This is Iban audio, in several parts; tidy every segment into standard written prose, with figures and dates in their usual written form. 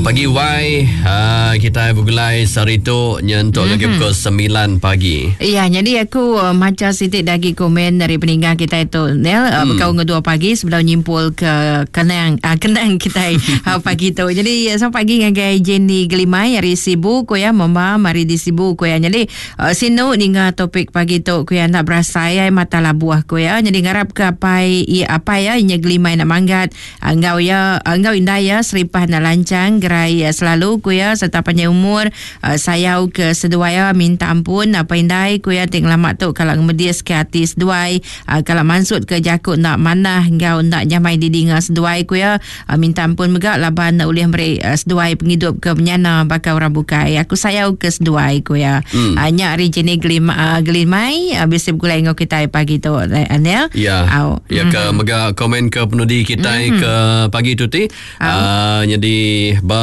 Pagi wai uh, kita begulai sehari tu nyentuk mm-hmm. lagi pukul 9 pagi. Ya, jadi aku uh, maca sitik lagi komen dari peninggal kita itu Nel uh, mm. bekau ngedua pagi sebelum nyimpul ke kenang uh, kenang kita uh, pagi tu. Jadi selamat pagi ngagai Jenny Gelimai ari Sibu ku ya mama mari di Sibu ku ya. Jadi uh, sinu ninga topik pagi tu ku ya nak berasai ai mata labuh ku ya. Jadi ngarap ke apai ya apai ya nya Gelimai nak manggat Enggau iya enggau indai iya seripah enda lanchang gerai selalu ku iya sereta panjai umur sayau ke seduai iya minta ampun apai indai ku iya ti ngelama tu kala ngemedis ke ati seduai kala mansut ke jaku enda manah enggau enda nyamai didinga seduai ku iya minta ampun mega laban ulih meri seduai pengidup ke menyana baka orang bukai aku sayau ke seduai ku iya nya ari Jenny Gelimai bisi begulai enggau kitai pagi tu Anil. Ya. Ya ke mm-hmm. mega komen ke penudi kita mm-hmm. ke pagi tu ti. Uh, jadi ba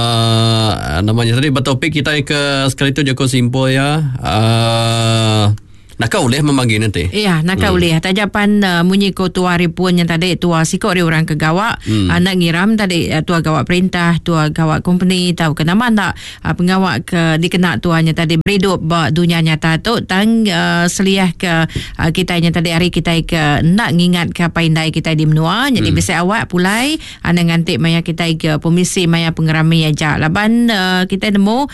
namanya tadi ba topik kita ke sekali tu jaku simpul ya. Uh, Naka ulih memagi nanti. Iya, naka hmm. ulih. Tajapan uh, munyi ko tua hari pun yang tadi tua siko ari orang ke gawa, hmm. anak ngiram tadi uh, tua gawa perintah, tua gawa company tau ke nama ndak pengawa ke dikena tua nya tadi beridup ba dunya nyata tu tang seliah ke kitai nya tadi ari kitai ke enda ngingat ke apai indai kitai di menua nyadi bisi awak pulai anang nganti maya kitai ke pemisi maya pengerami aja laban kitai nemu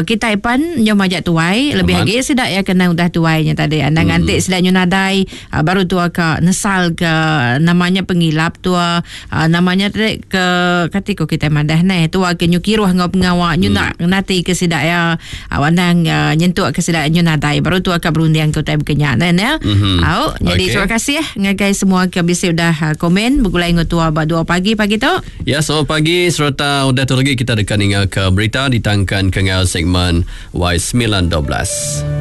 kitai pan nyau majak tuai lebih agi sida iya ke endang udah tuai nya tadi anang nganti sida nyu nadai baru tua ka nesal ke nama nya pengilap tua Nama nya tadi ke kati ko kitai madah neh tua ke nyu kiruh enggau pengawa nyu enda hmm. nati ke sida ya anang uh, nyentuk ke sida nyu nadai baru tua ka berunding ke utai baka nya neh ya. Mm-hmm. Au jadi okay. terima kasih ngagai semua ke bisi udah uh, komen begulai enggau tua ba 2 pagi pagi tu. Ya selamat pagi sereta udah tu lagi kita deka ninga ke berita ditangkan ke enggau segmen Y912.